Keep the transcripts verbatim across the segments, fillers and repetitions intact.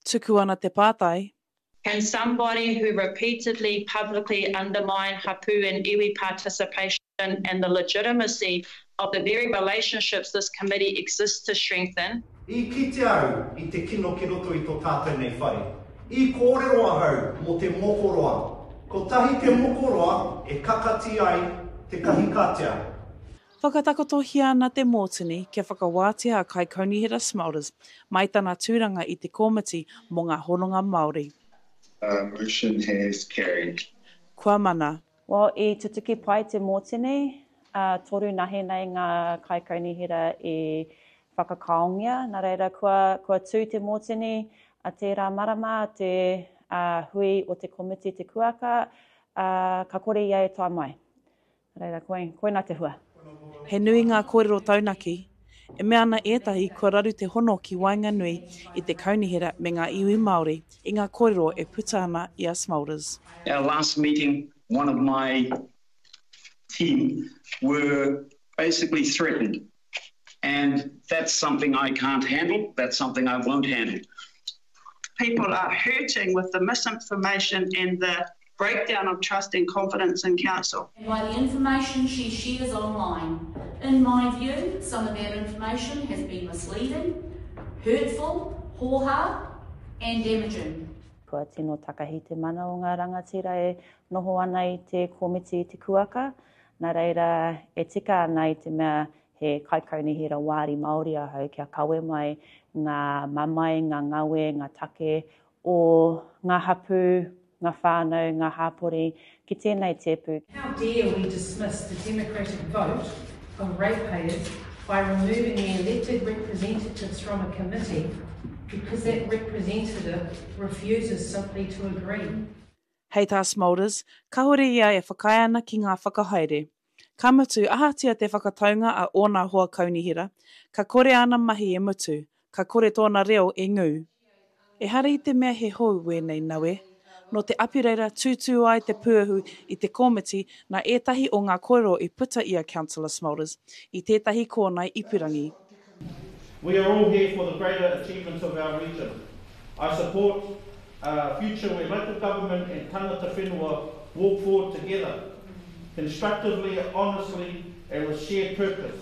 Tuku ana te pātai. Can somebody who repeatedly publicly undermine hapu and iwi participation and the legitimacy of the very relationships this committee exists to strengthen, I kite au i te kino ki roto i to tātou nei whare. I kōrero ahau mō te mokoroa. Kotahi te mokoroa e kakati ai te kahikatea. Whakatakotohia ana te mōtini kia whakawātea a Kaikaunihera Smulders mai tana tūranga i te Komiti mō ngā Hononga Māori. The motion has carried. Kua mana. Well, i tutuki pai te mōtini, ā, toru nahe nei ngā kaikaunihera i whakakaongia, nā reira kua, kua tū te mōtini a tērā marama, te ā, hui o te komiti Te Kuaka, ā, ka kore ia e tae mai. Nā reira, koi, koina te hua. He nui ngā kōrero taunaki. E mea ana ētahi kua raru te hono ki waenganui i te kaunihera me ngā iwi Māori i ngā kōrero e puta ana i a Smulders. Our last meeting, one of my team were basically threatened and that's something I can't handle, that's something I won't handle. People are hurting with the misinformation and the breakdown of trust and confidence in council. And by the information she shares online. In my view, some of that information has been misleading, hurtful, hōhā, and damaging. Kua tino takahi te mana o ngā rangatira e noho ana i te komiti i te kuaka, nā reira e tika ana i te mea he kaikaunihera wāri Māori ahau kia kawe mai ngā mamae, ngā ngawe, ngā take o ngā hapū, ngā whānau, ngā hāpori ki tēnei tēpu. How dare we dismiss the democratic vote of ratepayers by removing the elected representatives from a committee because that representative refuses simply to agree. Hei tā Smulders, kāore ia e whakaae ana ki ngā whakahaere. Ka mutu, ahatia te whakataunga a ōna hoa kaunihera, ka kore āna mahi e mutu, ka kore tōna reo e ngū. Ehara i te mea he hou wēnei nawe. Nō te Apireira tūtū ai te puehu i te komiti nā ētahi o ngā kōrero i puta i a Councillor Smulders i tētahi kōnae ipurangi. We are all here for the greater achievements of our region. I support a future where local government and tangata whenua walk forward together, constructively, honestly and with shared purpose.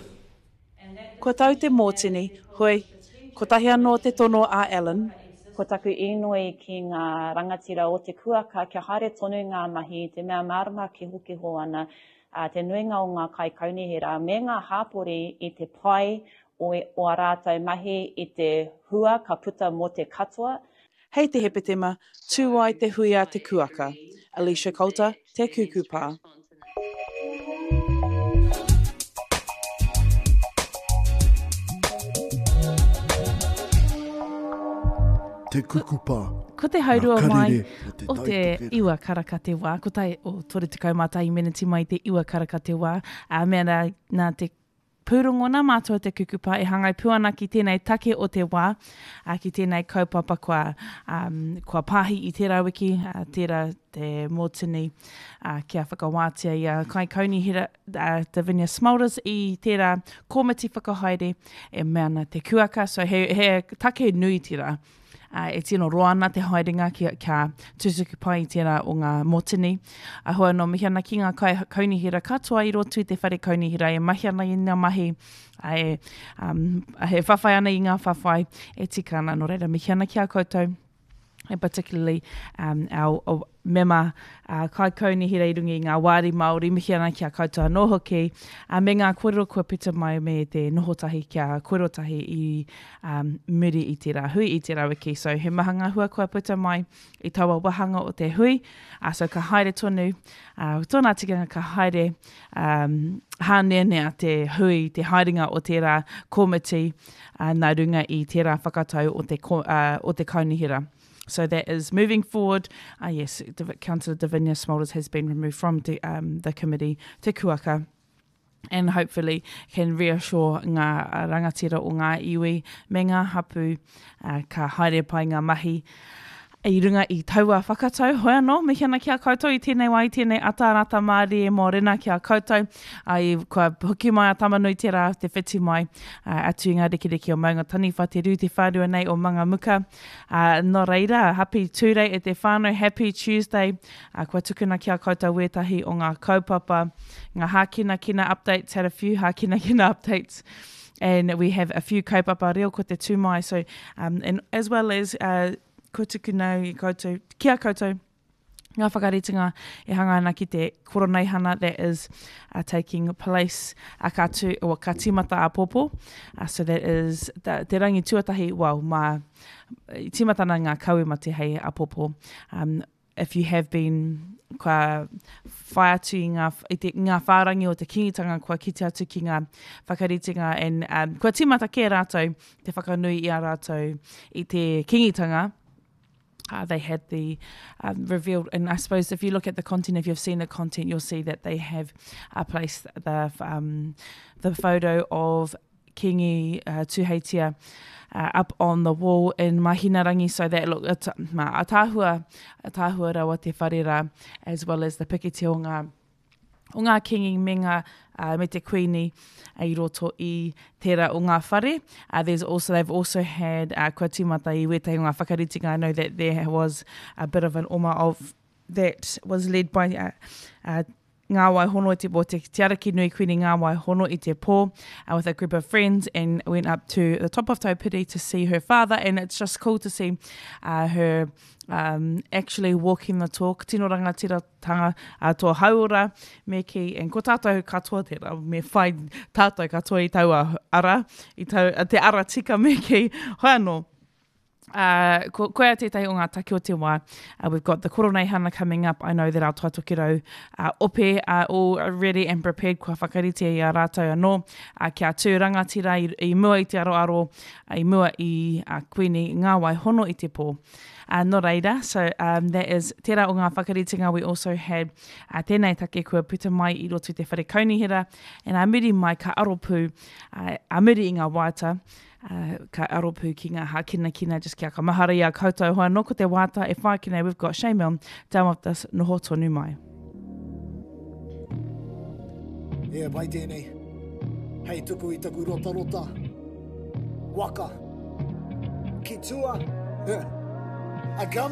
Kua tau te mōtini, hoi, kotahi anō te tono a Allan. Ko taku inoi ki ngā rangatira o te kuaka kia haere tonu ngā mahi i te mea mārama kehokeho ana te nuinga o ngā kaikaunihera me ngā hāpori i te pai o ā rātou mahi i te hua ka puta mō te katoa. Hei te Hepetema, tū ai te hui a te kuaka. Alicia Coulter, Te Kukupā. Te Kukupa. Ko te haurua mai o te iwa karaka te wā, ko tai o toru tekau mā tahi meneti mai te iwa karaka te wā, ā, mea nā, nā te pūrongo nā mātou o Te Kukupa e hāngai pū ana ki tēnei take o te wā, ā, ki tēnei kaupapa kua, um, kua pāhi i tērā wiki, ā, tērā te mōtini, ā, kia whakawātea i a Kaikaunihera, ā, Davinia Smulders i tērā komiti whakahaere e mea ana te kuaka, so he, he take nui tērā. Ā, e tino roa ana te haerenga kia, kia tutuki pai i tērā o ngā motini. A hoi anō, mihi ana ki ngā kai kaunihera katoa i roto i te whare kaunihera e mahi ana i ngā mahi, ā, e, um, e whawhai ana i ngā whawhai e tika ana. Nō reira, mihi ana ki a koutou, and particularly um, our, our mema uh, kaikaunihera i runga i ngā wāri Māori, mihi ana ki a koutou anō hoki, uh, me ngā kōrero kua puta mai me te noho tahi kia kōrero tahi i um, muri i tērā hui, i tērā wiki. So he maha ngā hua kua puta mai i taua wāhanga o te hui, uh, so ka haere tonu, uh, tōna tikanga ka haere um, hāneanea te hui, te haerenga o tērā komiti uh, nā runga i tērā whakatau o te, uh, o te kaunihera. So that is moving forward. Uh, yes, Councillor Davinia Smulders has been removed from the, um, the committee, Te Kuaka, and hopefully can reassure ngā rangatira o ngā iwi me ngā hapu uh, ka haere pai ngā mahi. I runga i taua whakatau, hoi anō, mihi ana ki a koutou i tēnei wā, i tēnei ata rata mārie mōrena ki a koutou. Ai, kua hoki mai a Tamanui te rā, te whiti mai, uh, atu i ngā rekereke o Maunga Taniwha, te rū te whārua nei o Mangamuka. Uh, nō reira, happy Tūrei e te whānau, happy Tuesday. Uh, kua tukuna ki a koutou wētahi o ngā kaupapa, ngā hākinakina updates, had a few hākinakina updates. And we have a few kaupapa reo ko te tū mai, so, um, and as well as uh, kua tukuna i koutou, ki a koutou, ngā whakaritenga e hanga ana ki te koroneihana that is uh, taking place uh, ka, tū, or ka tīmata āpōpō. Uh, so that is the, te rangi tuatahi, well, mā, tīmata ana ngā kawe mate hei āpōpō. Um, if you have been kua whai atu i ngā, i te, ngā whārangi o te kingitanga, kua kite atu ki ngā whakaritenga and um, kua tīmata kē rātou te whakanui i a rātou i te kingitanga. Uh, they had the um, revealed, and I suppose if you look at the content, if you've seen the content, you'll see that they have uh, placed the um, the photo of Kingi uh, Tuheitia uh, up on the wall in Mahinarangi, so that look, at, ma, atahua, atahua rawa te whare rā, as well as the pikiti o ngā, o ngā kingi me ngā, uh, me te kuini i roto i tērā o ngā whare. Uh, there's also, they've also had uh, kua tīmata i wētahi o ngā whakaritenga. I know that there was a bit of an oma of that was led by uh, uh, Ngā Wai Hono i te Pō, te Te Ariki Nui Kuini Ngā Wai Hono i te Pō, uh, with a group of friends, and went up to the top of Taupiri to see her father, and it's just cool to see uh, her um, actually walking the talk. Tino rangatiratanga uh, tō hauora me ki, and ko tātou katoa tērā, me whai tātou katoa i taua ara, i tau, te ara tika me ki, hoi anō. Uh, ko, koia tētahi o ngā take o te wā. Uh, we've got the koroneihana coming up. I know that our Tai Tokerau uh, ope are all ready and prepared. Kua whakarite i a rātou anō uh, kia tū rangatira i, i mua i te aroaro, uh, i mua i uh, Kuini Ngā Wai Hono i te Pō. Uh, nō reira, so um, that is tērā o ngā whakaritenga. We also had uh, tēnei take kua puta mai i roto i te whare kaunihera, and a muri mai ka aropū, uh, a muri i ngā waiata, Uh, ka aropū ki ngā hākinakina, just kia ka mahara i a koutou hoa nō ko te wāta e whai ki nei, we've got Shane Milne down with us, noho tonu mai. E, pai tēnei. Hei tuku i taku rotarota. Waka. Ki tua. A gum.